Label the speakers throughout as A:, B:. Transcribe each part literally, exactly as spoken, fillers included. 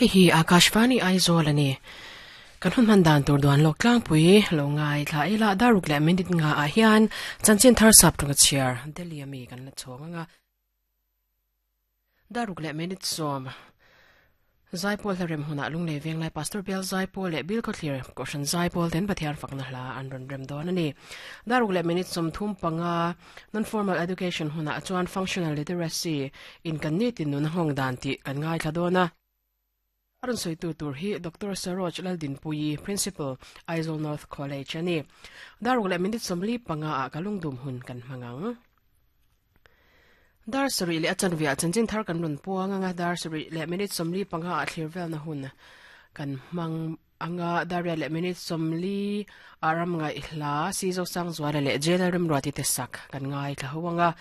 A: Hei hi Akashvani Aizawl ani. Kan hun man dan tur duan lok tlang pui lo ngai thla ila daruk le minute nga a hian chanchin thar sap tunga chiar Delhi ami kan la chhawng anga daruk le minute som Zaipol harem huna lungle venglai Pastor Bial Zaipol le Bill Kotlir koshan Zaipol ten pathian fakna hla an ron rem don ani daruk le minute som thum panga non formal education huna chuan functional literacy in kan ni tin nun hong dan ti kan ngai thla dona Arun soi tu tur hi Doctor Saroj Laldin Pui Principal Aizawl North College ani daruk le minute somli panga a kalungdum hun kan mangang Dar sari le achan via chanchin thar kan run puanga nga dar sari le minute somli panga a thlir vel na hun kan mang anga dar le minute somli aram ngai hla si zo sang zwala le jela rem rati te sak kan ngai thla huanga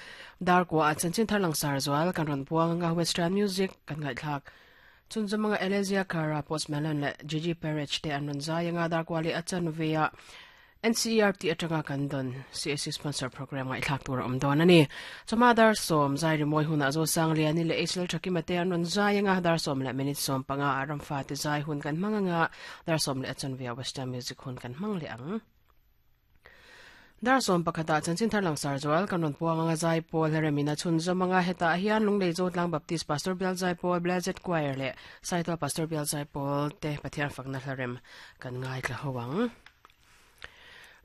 A: dar ko a chanchin thar lang sar zwal kan run puanga nga western music kan ngai thlak chun zamanga Elezia Kara Post Malone le Gigi Perez te an run zai nga dar kwali achan via N C E R T atanga kan don C S C sponsor program ngai thlak tur om don ani chama dar som zai ri moi huna zo sang liani le H L thaki mate an ron zai nga dar som le minute som panga aram fa te zai hun kan manga nga dar som le achan via western music hun kan mang le ang dar som pakhata chanchin thar lang sar zwal kan ron puanga nga zai pol heremina chun zomanga heta hian lunglei zotlang Baptist Pastor Bial Zai Paul Blessed Choir le Saito Pastor Bial Zai Paul te pathian fakna hlarem kan ngai thla howang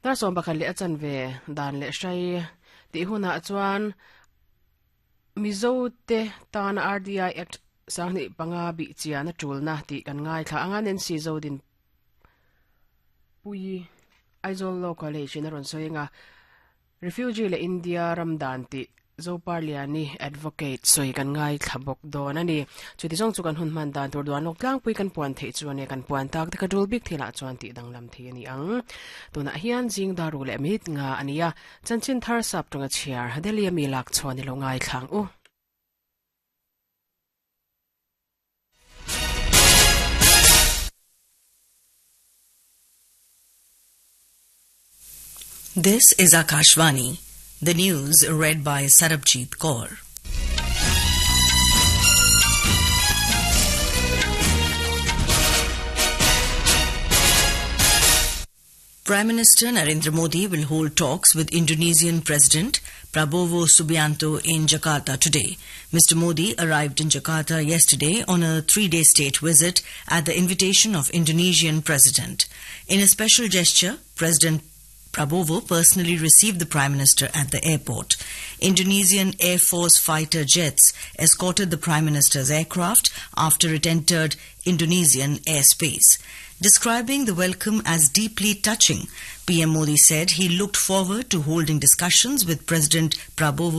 A: Dar som pakhat le achan ve dan le hrai ti huna chuan Mizo te tan R D I Act sangni panga bi chiana tulna ti kan ngai thla anga nen si zo din pui Aizawl Law College in ron soinga refugee le India ramdan ti Zoparliani advocate soi kan ngai thlabok don ani chuti jong chukan hun man dan tur duan lok tlang pui kan puan thei chuan kan puan tak te ka dul bik thila chuan ti danglam thei ani ang tuna hian jing daru le mit nga ania chanchin thar sap tunga chiar hadelia mi lak chuan lo ngai thlang u.
B: This is Akashvani. The news read by Sarabjit Kaur. Prime Minister Narendra Modi will hold talks with Indonesian President Prabowo Subianto in Jakarta today. Mister Modi arrived in Jakarta yesterday on a three-day state visit at the invitation of Indonesian President. In a special gesture, President Prabowo personally received the Prime Minister at the airport. Indonesian Air Force fighter jets escorted the Prime Minister's aircraft after it entered Indonesian airspace. Describing the welcome as deeply touching, P M Modi said he looked forward to holding discussions with President Prabowo